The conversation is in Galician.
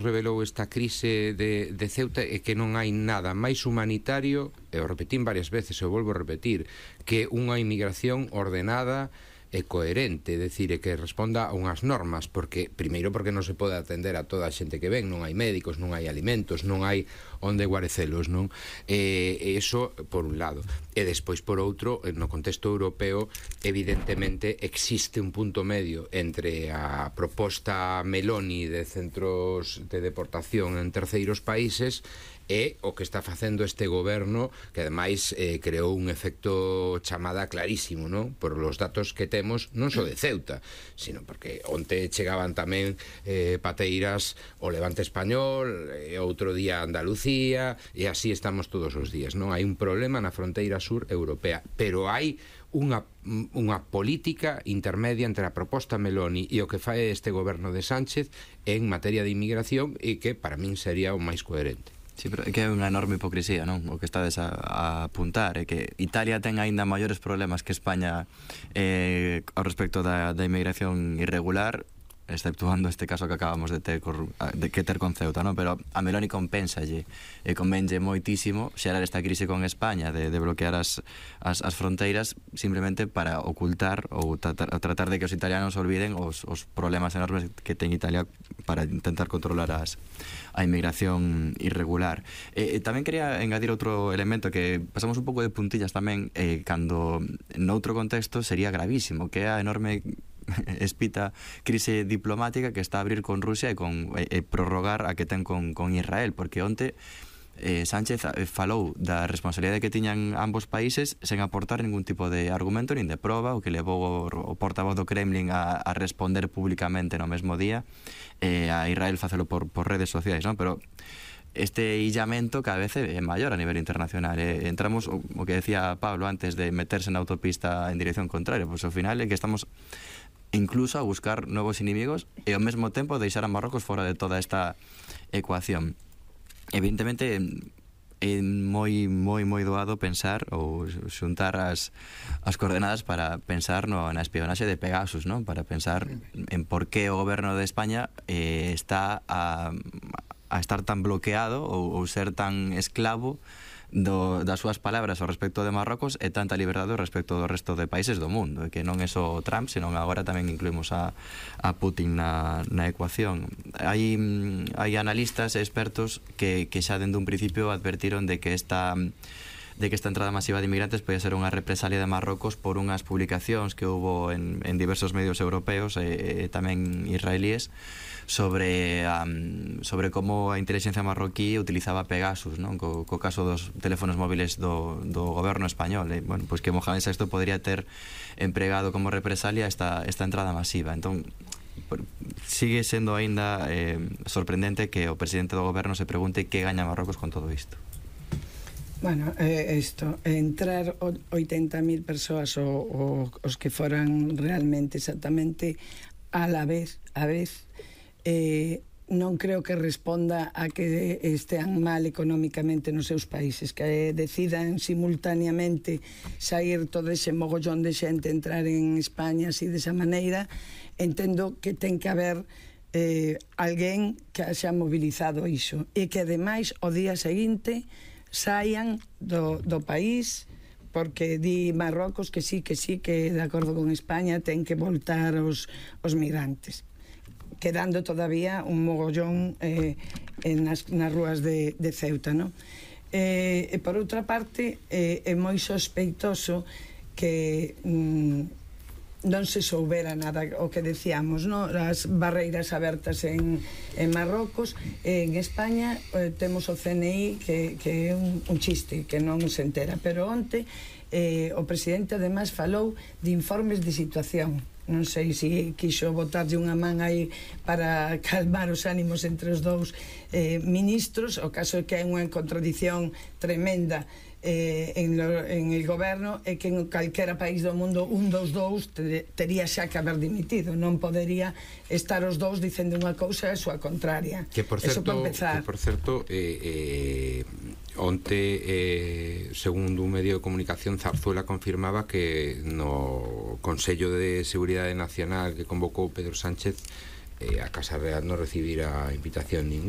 revelou esta crise de Ceuta é que non hai nada máis humanitario, e o repetín varias veces, e o volvo a repetir, que unha inmigración ordenada e coherente, é dicir, que responda a unhas normas, porque primeiro porque non se pode atender a toda a xente que ven, non hai médicos, non hai alimentos, non hai onde guarecelos, non? E iso por un lado, e despois por outro, no contexto europeo evidentemente existe un punto medio entre a proposta Meloni de centros de deportación en terceiros países e o que está facendo este goberno, que ademais creou un efecto chamada clarísimo, non? Por os datos que temos, non só de Ceuta, sino porque onte chegaban tamén pateiras o Levante español, e outro día Andalucía, e así estamos todos os días, non? Hai un problema na fronteira sur europea, pero hai unha política intermedia entre a proposta Meloni e o que fai este goberno de Sánchez en materia de inmigración, e que para min sería o máis coherente. Sí, pero é que é unha enorme hipocrisía, non? O que estades a apuntar é que Italia ten aínda maiores problemas que España ao respecto da inmigración irregular, exceptuando este caso que acabamos de ter con Ceuta, non? Pero a Meloni compensalle e convenlle moitísimo xerar esta crise con España de bloquear as fronteiras simplemente para ocultar ou tratar de que os italianos olviden os problemas enormes que ten Italia para intentar controlar a inmigración irregular. Tamén quería engadir outro elemento que pasamos un pouco de puntillas tamén, cando noutro contexto sería gravísimo, que é a enorme espita crise diplomática que está a abrir con Rusia e prorrogar a que ten con Israel, porque onte Sánchez falou da responsabilidade que tiñan ambos países sen aportar ningún tipo de argumento nin de proba, o que levou o portavoz do Kremlin a responder públicamente no mesmo día, a Israel facelo por redes sociais, non? Pero este illamento cada vez é maior a nivel internacional. Entramos, o que decía Pablo antes, de meterse na autopista en dirección contraria, pois ao final é que estamos incluso a buscar novos inimigos e ao mesmo tempo deixar a Marrocos fora de toda esta ecuación. Evidentemente é moi doado pensar ou xuntar as coordenadas para pensar na espionaxe de Pegasus, non? Para pensar en por que o goberno de España está a estar tan bloqueado ou ser tan esclavo das súas palabras ao respecto de Marrocos e tanta liberdade ao respecto do resto de países do mundo, que non é só Trump, senón agora tamén incluímos a Putin na ecuación. Hai analistas e expertos que xa dende un principio advertiron de que esta entrada masiva de inmigrantes pode ser unha represalia de Marrocos por unhas publicacións que houbo en diversos medios europeos e tamén israelíes sobre como a inteligencia marroquí utilizaba Pegasus, non? Co caso dos teléfonos móviles do goberno español. Bueno, pois que Mohamed VI podría ter empregado como represalia esta entrada masiva. Entón, sigue sendo aínda sorprendente que o presidente do goberno se pregunte que gaña Marrocos con todo isto. Bueno, entrar 80.000 persoas os que foran realmente exactamente a vez, non creo que responda a que estean mal económicamente nos seus países, que decidan simultaneamente sair todo ese mogollón de xente, entrar en España así desa maneira. Entendo que ten que haber alguén que xa mobilizado iso e que ademais o día seguinte saian do país, porque di Marrocos que sí, que de acordo con España ten que voltar os migrantes, quedando todavía un mogollón nas rúas de Ceuta, non? E por outra parte é moi sospeitoso que non se soubera nada, o que decíamos, non? As barreiras abertas en Marrocos. En España temos o CNI que é un chiste, que non se entera, pero onte o presidente ademais falou de informes de situación. Non sei se quixo botarlle unha man aí para calmar os ánimos entre os dous ministros. O caso é que hai unha contradición tremenda en el goberno, é que en calquera país do mundo un dos dous tería xa que haber dimitido, non podería estar os dous dicendo unha cousa e a súa contraria. Que por certo onte, segundo un medio de comunicación, Zarzuela confirmaba que no Consello de Seguridade Nacional que convocou Pedro Sánchez a Casa Real non recibira invitación ningún.